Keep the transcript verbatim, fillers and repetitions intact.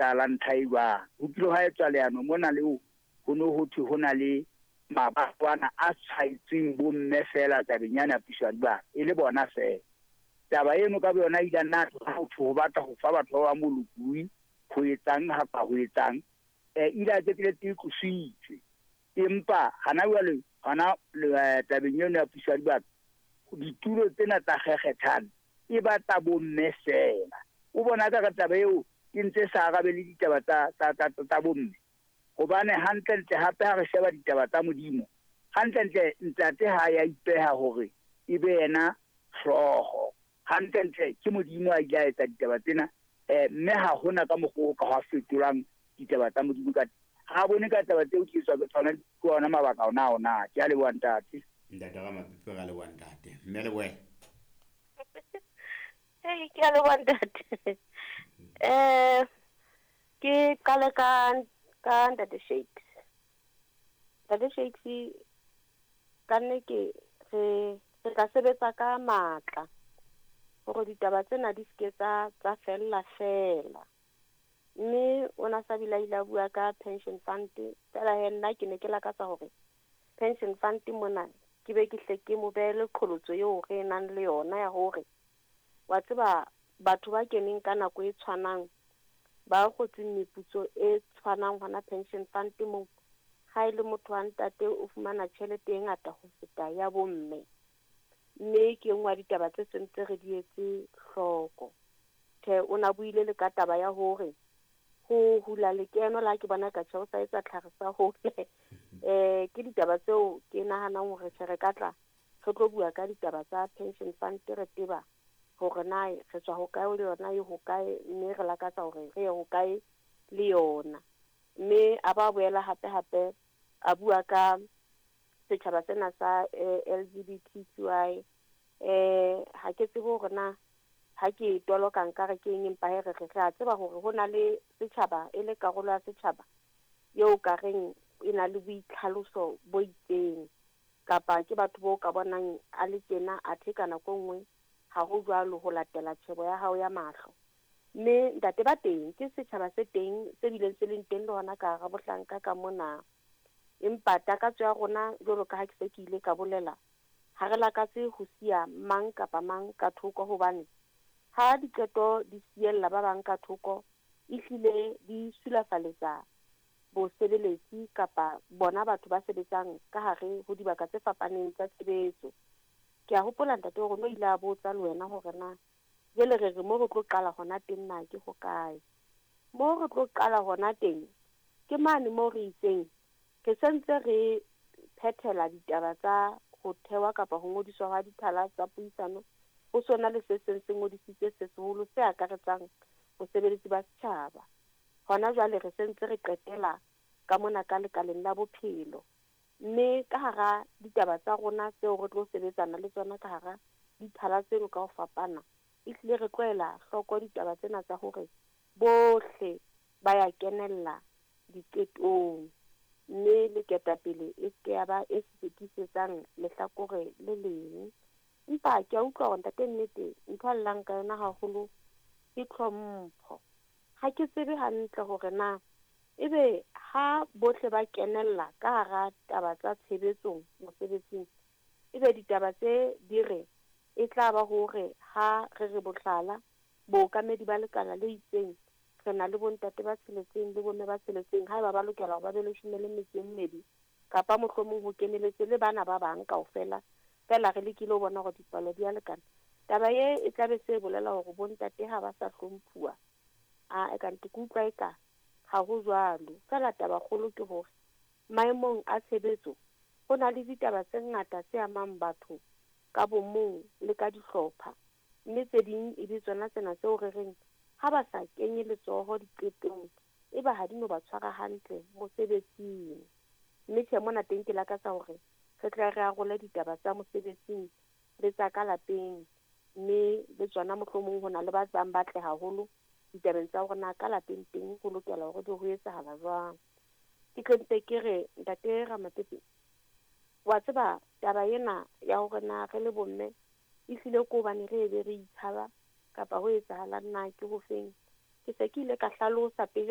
etsahalang ntlha e jwang. Ho kile hwa etswa leano mona leo ho no ho thwe ho na le mabatwana a tshwaetsweng bomme feela tabeng yana ya puso ya dibaka, e le bona feela. Taba eno ka boyona e ile ya nna ho thwe ho batla ho fa batho ba bang bolokolohi ho etsang kapa ho etsang, eh ile a qetelletse e tlositswe. Empa hana jwale hona tabeng eno ya puso ya dibaka, ditulo tsena tsa kgekgethane e batla bomme feela. O bona ka taba eo e ntse sa arabele ditaba tsa tsa tsa tsa bomme, hobane hantlentle hape ha re sheba ditaba tsa Modimo, hantlentle ntate ha ya ipeha hore e be yena hlooho. Hantlentle ke Modimo a ile a etsa ditaba tsena, eh mme ha hona ka mokgwa o ka hwa fetolang ditaba tsa Modimo ka teng. Ha bone ka taba tseo ke tswa ke tsona ke ona mabaka ona ona. Ke a leboha ntate. Ntate Ramapipe, ra leboha ntate. Mme Leboela. Hey, ke a leboha ntate. Eh ke qale ka ka ntate Shakes. Ntate Shakes, ka nne ke re re tla sebetsa ka matla hore ditaba tsena di seke tsa tsa fella fela. Mme o na sa bile a ile a bua ka pension fund, fela he nna ke ne ke lakatsa hore pension fund mona ke be ke hle ke mo behele qholotso eo re nang le yona ya hore wa tseba batho ba keneng ka nako e tshwanang ba kgotseng meputso e tshwanang hona pension fund moo, ha e le motho wa ntate o fumana tjhelete e ngata ho feta ya bomme. Mme ke e nngwe ya ditaba tse sentse re di etse hloko. Tjhe, o na buile le ka taba ya hore ho hula lekeno la ke bona ka tjhe o sa etsa tlhare sa hole. Eh ke ditaba tseo ke nahanang hore tjhe re ka tla re tlo bua ka ditaba tsa pension fund, re tseba hore na re tswa hokae le yona e hokae, mme re lakatsa hore re ye hokae le yona. Mme a ba boela hape hape a bua ka setjhaba sena sa L G B T Q I. Eh ha ke tsebe hore na ha ke toloka nkare ke eng, empa he re re re a tseba hore ho na le setjhaba e le karolo ya setjhaba eo ka reng e na le boitlhaloso bo itseng, kapa ke batho bo ka bonang a le tjena athe ka nako e nngwe ha ho jwalo ho latela tjhebo ya hao ya mahlo. Mme ntate ba teng ke setjhaba se teng se bileng se leng teng le hona ka hara bohlanka ka mona. Empa takatso ya rona jwalo ka ha ke se ke ile ka bolela, ha re lakatse ho siya mang kapa mang ka thoko, hobane ha diqeto di siella ba bang ka thoko ehlile di sulafaletsa bosebeletsi kapa bona batho ba sebetsang ka hare ho dibaka tse fapaneng tsa tshebetso. Ke a hopola ntate hore no ile a botsa le wena hore na jwale re re mo re tlo qala hona teng na ke hokae. Mo re tlo qala hona teng ke mane mo re itseng re sentse re phethela ditaba tsa ho thewa kapa ho ngodiswa hwa dithala tsa puisano. Ho sona le se seng se ngodisitse se seholo se akaretsang bosebeletsi ba setjhaba. Hona jwale re sentse re qetela ka mona ka lekaleng la bophelo. Mme ka hara ditaba tsa rona tseo re tlo sebetsana le tsona ka hara dithala tseno ka ho fapana, ehlile re tlohela hloko ditaba tsena tsa hore bohle ba ya kenella diqetong, mme le ketapele e seke ya ba e sekisetsang lehlakore le leng. Empa ke a utlwa hore ntate nnete ntho a llang ka yona haholo ke tlhompho. Ha ke tsebe hantle hore na ebe ha bohle ba kenella ka hara taba tsa tshebetsong mosebetsing, ebe ditaba tse di re e tla ba hore ha re re bohlala bookamedi ba lekala le itseng re na le bontate ba tsheletseng le bomme ba tsheletseng, haeba ba lokela hore ba be leshome le metso e mmedi kapa mohlomong ho keneletse le bana ba bang kaofela, fela re lekile ho bona hore dipalo di a lekana. Taba e e tla be se bolela hore bontate ha ba sa hlomphuwa. A e ka nte ke utlwa eka ha ho jwalo. Fela taba kgolo ke hore maemong a tshebetso ho na le ditaba tse ngata tse amang batho ka bomong le ka dihlopha, mme tse ding e be tsona tsena tseo re reng ha ba sa kenye letsoho diqetong e ba ha di no ba tshwara hantle mosebetsing. Mme tjhe mona teng ke lakatsa hore re tla re arole ditaba tsa mosebetsing le tsa ka lapeng, mme le tsona mohlomong ho na le ba bang ba tle haholo ditabeng tsa hore na ka lapeng teng ho lokela hore di ho etsahala jwang. Ke tlo mpe ke re ntate Ramapepe, wa tseba taba ena ya hore na re le bomme ehlile ke hobane re be re itshaba kapa ho etsahalang na ke hofeng. Ke se ke ile ka hlalosa pejana.